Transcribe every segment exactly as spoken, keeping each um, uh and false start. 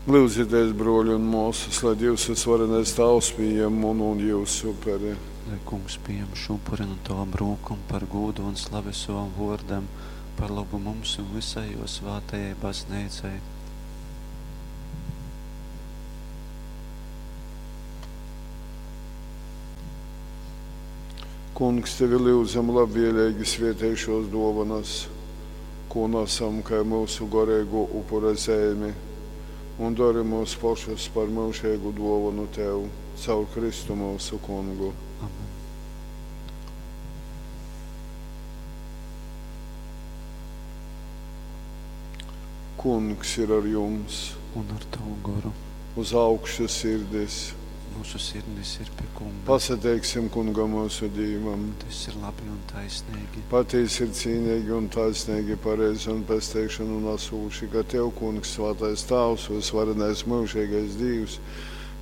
Lyudzitēs, bruoļi un muosys, lai Dīvs vysvarenais Tāvs pījem munu un jiusu uperi. Lai Kungs pījem šū upuri nu tovom rūkom par gūdu un slavi sovam vōrdam, par lobu mums un vysai jō svātajai Bazneicai. Kungs, tevi lyudzam, labvieleigi svietej šuos duovonys, kū nasam kai myusu goreiguo upura zeimi, un dori myus pošus par myužeigu duovonu tev caur Kristu myusu Kungu. Amen. Kungs ir ar jums! Un ar tavu goru. Uz augšu sirdis! Mūsu sirdis ir pie Kunga. Pasateiksim Kungam myusu Dīvam! Tas ir labi un taisnīgi. Patīsi ir cīnīgi un taisnīgi, pareizi un pesteišonu nasūši, ka Tev, Kungs, svātais Tāvs, vysvarenais myužeigais Dīvs,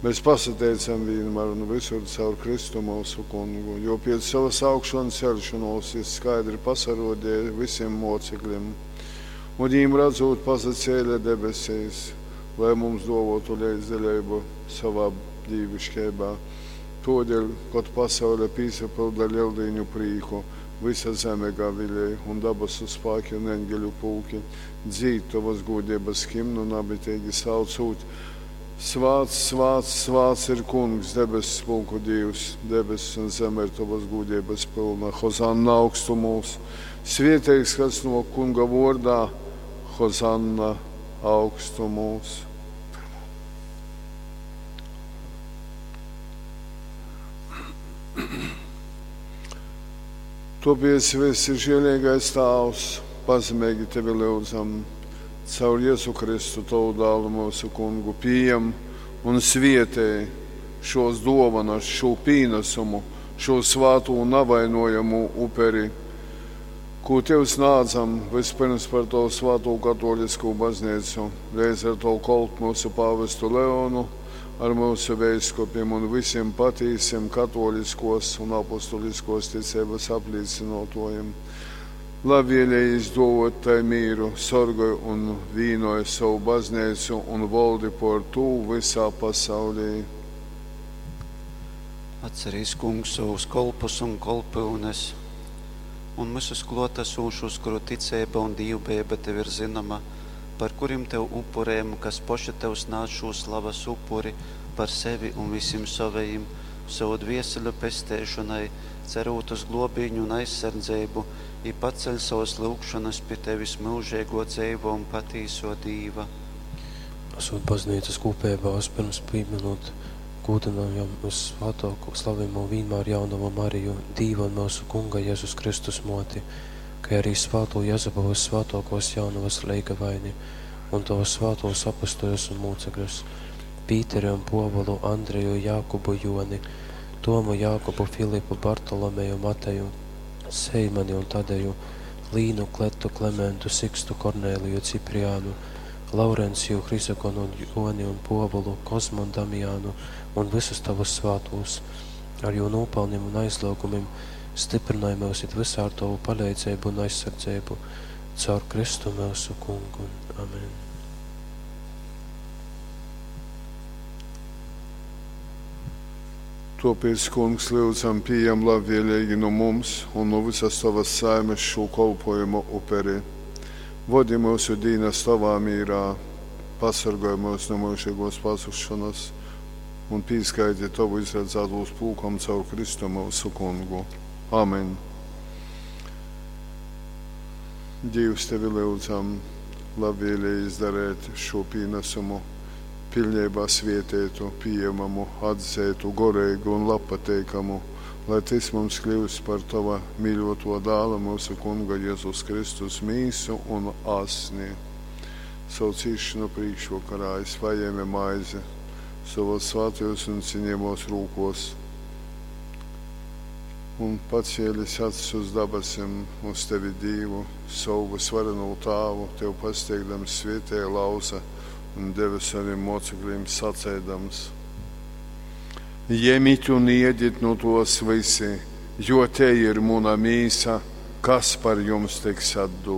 mēs pasateicam vienmēr un visur caur Kristu mūsu Kungu, jo pēc savas augšanu celšanos jis skaidri pasarodēja visiem mocekļiem, un viņiem redzot pasacēla debesīs, lai mums duovotu leidzdaļību savā dīviškeibā. Todēļ, kod pasaule pīsapylda Lieldīņu prīku, vysa zeme gavilej un dabasu spāki un eņgeļu pulki dzīd tovas gūdeibas himnu nabiteigi saucūt: Svāts, svāts, svāts ir Kungs, debess pulku Dīvs, debess un zeme ir tovas gūdeibas pylna. Hozanna augstumūs! Svieteigs, kas no Kunga vordā, Hozanna augstumūs! Topiec vysižieleigais Tāvs, pazemeigi tevi lyudzam, caur Jezu Kristu, tovu dālu myusu Kungu, pījem un svietej šos duovanas, šū pīnesumu, šo svātū navainojamū uperi, kū Tev snādzam vispirms par Tavu svātū katoliskū baznīcu, leidz ar Tavu kolpu myusu pāvestu Leonu, ar myusu veiskupim un visiem patīsim katoliskos un apostuliskos ticības aplīcinotojiem. Labvēlīgi izdovot tai mīru, sorgoj un vīnoj savu baznīcu un valdi por tū visā pasaulī. Atcerīs, Kungs, savus kolpus un kolpyunes un visus klōtasūšus, kuru ticeiba un dīvbejeiba tev ir zynoma, par kurim tev upurējam, kas poši tev snādz šū slavas upuri par sevi un visim sovejim, sovu dvieseļu pesteišonai, cerūt uz globīņu un aizsardzeibu, i paceļ savas lyugšonas pi tevis myužeigō dzeivō un patīsō Dīva. Esot baznīcas kūpeibā, vispirms pīminot, gūdynojam vyssvātōko slavejamo vīnmār jaunovu Mariju, Dīva un myusu Kunga Jezus Kristus mōti, kai arī svātū Jezupu vyssvātōkōs jaunovas leigavaini un tovus svātūs apustuļus un mūcekļus, Pīteri un Pōvulu, Andreju, Jākubu, Joni, Tomu, Jākubu, Filipu, Bartolomeju, Mateju, Seimani un Tadeju, Līnu, Kletu, Klementu, Sikstu, Kornēliju, Cipriānu, Laurenciju, Hrizogonu, Joni un Pōvulu, Kozmu un Damiānu un visus tavus svātūs, ar jū nopelniem un aizliegumiem stiprinoj myus it visā ar tavu paleidzeibu un aizsardzeibu, caur Kristu myusu Kungu. Amen. Topiec, Kungs, lyudzam, pījem labvēlīgi no mums un no visas tavas saimes šo kolpojumu uperi. Vodi mūsu dīnas tavā mīrā, pasargoj mūs no mūžīgos pazušanas un pīskaiti tavu izredzētos pulkam caur Kristu mūsu Kungu. Amen. Dīvs tevi lyudzam, labvēlīgi izdarēt šo pīnesumu, pilnībā svietētu, pieejamamu, atzētu, goreigu un labpateikamu, lai tas mums kļūst par tava mīļoto dāla, mūsu Kunga Jēzus Kristus mīsu un asni. Savu cīšanu priekšvakarā es paņēmu maizi savos svētajos un cienījamos rūkos un pacēlis acis uz dabasim, uz tevi Dievu, savu svareno tāvu, tev pasteigdams svietēja lauza un deva saviem mocekļiem sacēdams. Jemit un iedit no tos visi, jo te ir muna mīsa, kas par jums tiks atdota.